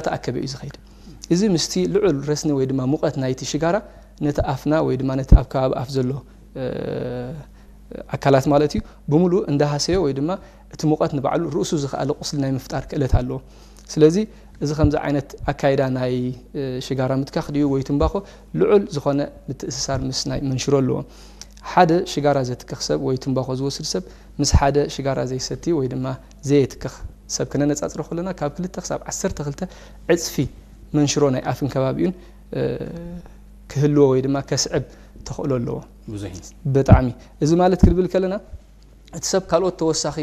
እንዳተኣከበ እዩ ዝኸይድ። እዚ ምስቲ ልዑል ረስኒ ወይ ድማ ሙቐት ናይቲ ሽጋራ ነቲ ኣፍና ወይ ድማ ነቲ ኣብ ከባቢ ኣፍ ዘሎ ኣካላት ማለት እዩ ብምሉእ እንዳሃሰዮ ወይ ድማ እቲ ሙቐት ንባዕሉ ርእሱ ዝኸኣለ ቁስሊ ናይ ምፍጣር ክእለት ኣለዎ። ስለዚ እዚ ከምዚ ዓይነት ኣካይዳ ናይ ሽጋራ ምትካኽ ድዩ ወይ ትምባኾ ልዑል ዝኾነ ምትእስሳር ምስ ናይ መንሽሮ ኣለዎ። ሓደ ሽጋራ ዘትክኽ ሰብ ወይ ትምባኾ ዝወስድ ሰብ ምስ ሓደ ሽጋራ ዘይሰቲ ወይ ድማ ዘየትክኽ ሰብ ክነነጻጽሮ ከለና ካብ ክልተ ክሳብ ዓሰርተ ክልተ ዕጽፊ መንሽሮ ናይ ኣፍን ከባቢኡን ክህልዎ ወይ ድማ ከስዕብ ተኽእሎ ኣለዎ። ብዙሕ እዩ። ብጣዕሚ። እዚ ማለት ክንብል ከለና እቲ ሰብ ካልኦት ተወሳኺ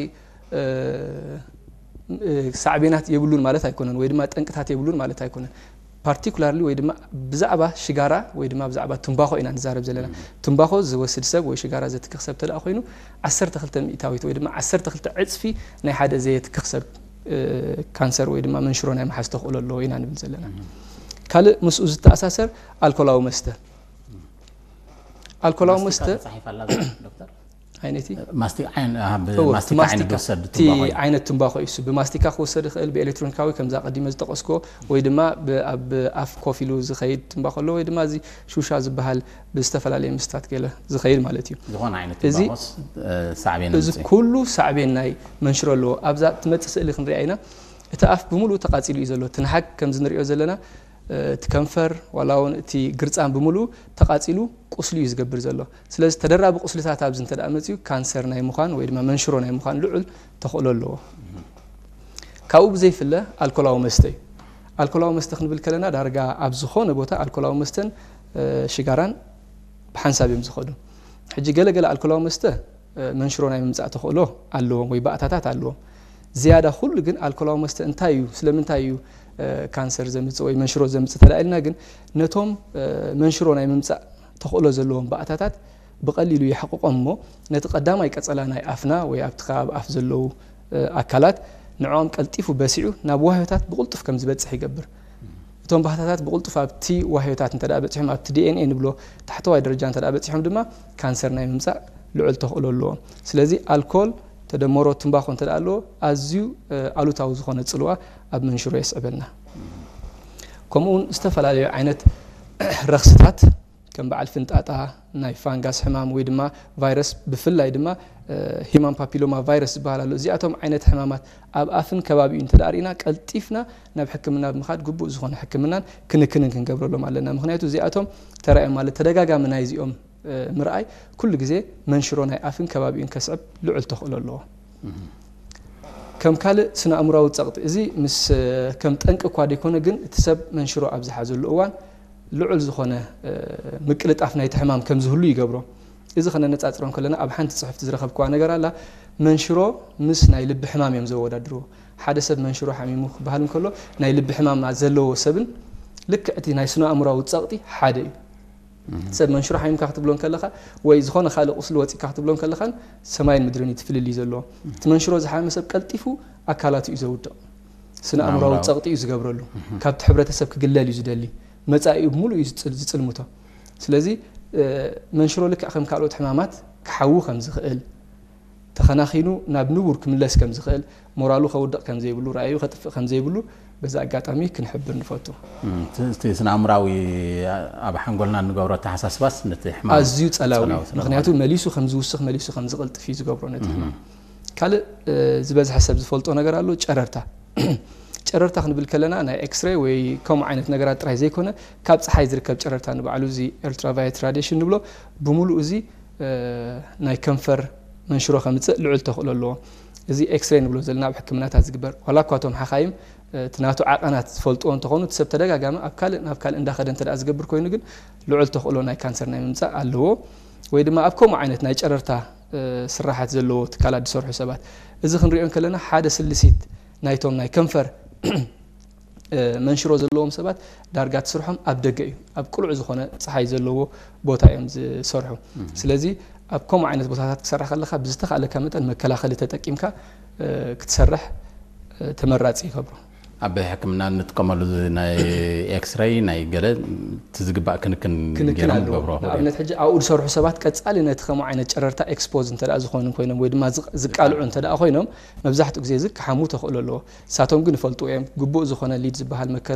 ሳዕቤናት የብሉን ማለት ኣይኮነን ወይ ድማ ጠንቅታት የብሉን ማለት ኣይኮነን። ፓርቲኩላርሊ ወይ ድማ ብዛዕባ ሽጋራ ወይ ድማ ብዛዕባ ትምባኾ ኢና ንዛረብ ዘለና። ትምባኾ ዝወስድ ሰብ ወይ ሽጋራ ዘትክኽ ሰብ ተደኣ ኮይኑ ዓሰርተ ክልተ ሚእታዊት ወይ ድማ ዓሰርተ ክልተ ዕጽፊ ናይ ሓደ ዘየትክኽ ሰብ ካንሰር ወይ ድማ መንሽሮ ናይ ምሓዝ ተኽእሎ ኣለዎ ኢና ንብል ዘለና። ካልእ ምስኡ ዝተኣሳሰር ኣልኮላዊ መስተ። ኣልኮላዊ መስተ ተጻሒፋ ኣላ ዶክተር። ዓይነቲ ማስቲካ ዓይነት ዝወሰድ ትምባኾ ዓይነት ትምባኾ እዩ። ብማስቲካ ክወሰድ ይኽእል፣ ብኤሌክትሮኒካዊ ከምዛ ቀዲመ ዝጠቀስኮ ወይ ድማ ኣብ ኣፍ ኮፍ ኢሉ ዝኸይድ ትምባኾ ኣሎ ወይ ድማ እዚ ሹሻ ዝበሃል ብዝተፈላለየ ምስታት ገለ ዝኸይድ ማለት እዩ። ዝኾነ ዓይነት እዚ ትምባኾስ ሳዕቤን እዚ ኩሉ ሳዕቤን ናይ መንሽሮ ኣለዎ። ኣብዛ ትመጽእ ስእሊ ክንሪኣ ኢና። እቲ ኣፍ ብምሉእ ተቃጺሉ እዩ ዘሎ። ትንሓግ ከምዚ ንሪኦ ዘለና እቲ ከንፈር ዋላ እውን እቲ ግርጻን ብምሉእ ተቃጺሉ ቁስሊ እዩ ዝገብር ዘሎ። ስለዚ ተደራቢ ቁስልታት ኣብዚ እንተ ደኣ መጺኡ ካንሰር ናይ ምዃን ወይ ድማ መንሽሮ ናይ ምዃን ልዑል ተኽእሎ ኣለዎ። ካብኡ ብዘይፍለ ኣልኮላዊ መስተ እዩ። ኣልኮላዊ መስተ ክንብል ከለና ዳርጋ ኣብ ዝኾነ ቦታ ኣልኮላዊ መስተን ሽጋራን ብሓንሳብ እዮም ዝኸዱ። ሕጂ ገለገለ ኣልኮላዊ መስተ መንሽሮ ናይ ምምጻእ ተኽእሎ ኣለዎም ወይ ባእታታት ኣለዎም። ዝያዳ ኩሉ ግን ኣልኮላዊ መስተ እንታይ እዩ፣ ስለምንታይ እዩ ካንሰር ዘምጽእ ወይ መንሽሮ ዘምጽእ ተላኢልና ግን ነቶም መንሽሮ ናይ ምምጻእ ተኽእሎ ዘለዎም ባእታታት ብቐሊሉ የሕቕቖም እሞ ነቲ ቀዳማይ ቀጸላ ናይ ኣፍና ወይ ኣብቲ ከባቢ ኣፍ ዘለዉ ኣካላት ንዕኦም ቀልጢፉ በሲዑ ናብ ዋህዮታት ብቕልጡፍ ከም ዝበጽሕ ይገብር። እቶም ባህታታት ብቕልጡፍ ኣብቲ ዋህዮታት እንተ ደኣ በጺሖም ኣብቲ ዲኤንኤ ንብሎ ታሕተዋይ ደረጃ እንተ ደኣ በጺሖም ድማ ካንሰር ናይ ምምጻእ ልዑል ተኽእሎ ኣለዎም። ስለዚ ኣልኮል ተደመሮ ትምባኾ እንተ ደኣ ኣለዎ ኣዝዩ ኣሉታዊ ዝኾነ ጽልዋ ኣብ መንሽሮ የስዕበልና። ከምኡ እውን ዝተፈላለዩ ዓይነት ረኽስታት ከም በዓል ፍንጣጣ፣ ናይ ፋንጋስ ሕማም ወይ ድማ ቫይረስ ብፍላይ ድማ ሂማን ፓፒሎማ ቫይረስ ዝበሃል ኣሎ። እዚኣቶም ዓይነት ሕማማት ኣብ ኣፍን ከባቢኡ እንተ ደኣ ርኢና ቀልጢፍና ናብ ሕክምና ብምኻድ ግቡእ ዝኾነ ሕክምናን ክንክንን ክንገብረሎም ኣለና። ምክንያቱ እዚኣቶም ተራእዮም ማለት ተደጋጋሚ ናይዚኦም ምርኣይ ኩሉ ግዜ መንሽሮ ናይ ኣፍን ከባቢኡን ከስዕብ ልዑል ተኽእሎ ኣለዎ። ከም ካልእ ስነ ኣእምራዊ ጸቕጢ እዚ ምስ ከም ጠንቂ እኳ ደይኮነ ግን እቲ ሰብ መንሽሮ ኣብ ዝሓዘሉ እዋን ልዑል ዝኾነ ምቅልጣፍ ናይቲ ሕማም ከም ዝህሉ ይገብሮ። እዚ ከነነጻጽሮ እንከለና ኣብ ሓንቲ ጽሕፍቲ ዝረኸብክዋ ነገር ኣላ። መንሽሮ ምስ ናይ ልቢ ሕማም እዮም ዘወዳድርዎ። ሓደ ሰብ መንሽሮ ሓሚሙ ክበሃል እንከሎ ናይ ልቢ ሕማም ዘለዎ ሰብን ልክዕ እቲ ናይ ስነ ኣእምራዊ ጸቕጢ ሓደ እዩ። ሰብ መንሽሮ ሓሚምካ ክትብሎ እንከለኻ ወይ ዝኾነ ካልእ ቁስሊ ወፂእካ ክትብሎ እንከለኻን ሰማይን ምድርን እዩ እቲ ፍልልይ ዘለዎ። እቲ መንሽሮ ዝሓመመ ሰብ ቀልጢፉ ኣካላቱ እዩ ዘውድቕ። ስነ ኣእምራዊ ጸቕጢ እዩ ዝገብረሉ። ካብቲ ሕብረተሰብ ክግለል እዩ ዝደሊ። መጻኢኡ ብምሉእ እዩ ዝጽልምቶ። ስለዚ መንሽሮ ልክዕ ከም ካልኦት ሕማማት ክሓዊ ከም ዝኽእል ተኸናኺኑ ናብ ንቡር ክምለስ ከም ዝኽእል ሞራሉ ከውድቕ ከም ዘይብሉ ራእዩ ከጥፍእ ከም ዘይብሉ በዚ ኣጋጣሚ ክንሕብር ንፈቱ። እቲ ስነ ኣእምራዊ ኣብ ሓንጎልና እንገብሮ ኣተሓሳስባስ ነቲ ሕማም ኣዝዩ ጸላዊ እዩ። ምክንያቱ መሊሱ ከም ዝውስኽ መሊሱ ከም ዝቕልጥፍ እዩ ዝገብሮ ነቲ ሕማም። ካልእ ዝበዝሐ ሰብ ዝፈልጦ ነገር ኣሎ፣ ጨረርታ። ጨረርታ ክንብል ከለና ናይ ኤክስሬይ ወይ ከምኡ ዓይነት ነገራት ጥራይ ዘይኮነ ካብ ፀሓይ ዝርከብ ጨረርታ ንባዕሉ እዚ ኤልትራቫዮሌት ራዲሽን ንብሎ ብምሉእ እዚ ናይ ከንፈር መንሽሮ ከምፅእ ልዑል ተኽእሎ ኣለዎ። እዚ ኤክስሬይ ንብሎ ዘለና ኣብ ሕክምናታት ዝግበር ዋላ እኳ እቶም ሓኻይም እቲ ናቱ ዓቐናት ዝፈልጥዎ እንተኾኑ እቲ ሰብ ተደጋጋሚ ኣብ ካልእ ናብ ካልእ እንዳኸደ እንተ ዝገብር ኮይኑ ግን ልዑል ተኽእሎ ናይ ካንሰር ናይ ምምፃእ ኣለዎ። ወይ ድማ ኣብ ከምኡ ዓይነት ናይ ጨረርታ ስራሓት ዘለዎ ትካላት ዝሰርሑ ሰባት እዚ ክንሪኦ እንከለና ሓደ ስልሲት ናይቶም ናይ ከንፈር መንሽሮ ዘለዎም ሰባት ዳርጋ እቲ ስርሖም ኣብ ደገ እዩ። ኣብ ቅሉዕ ዝኾነ ፀሓይ ዘለዎ ቦታ እዮም ዝሰርሑ። ስለዚ ኣብ ከምኡ ዓይነት ቦታታት ክሰርሕ ከለኻ ብዝተኻእለካ መጠን መከላኸሊ ተጠቂምካ ክትሰርሕ ተመራፂ ይገብሮ። ኣብ ሕክምና እንጥቀመሉ ናይ ኤክስሬይ ናይ ገለ እቲ ዝግባእ ክንክን ክንክን ገይሮም ኣለዎ። ገብርዎ። ንኣብነት ሕጂ ኣብኡ ዝሰርሑ ሰባት ቀጻሊ ነቲ ከምኡ ዓይነት ጨረርታ ኤክስፖዝ እንተ ደኣ ዝኾኑ ኮይኖም ወይ ድማ ዝቅ- ዝቃልዑ እንተ ደኣ ኮይኖም መብዛሕትኡ ግዜ እዚ ክሓሙ ተኽእሎ ኣለዎ። ንሳቶም ግን ይፈልጡ እዮም። ግቡእ ዝኾነ ሊድ ዝበሃል መከ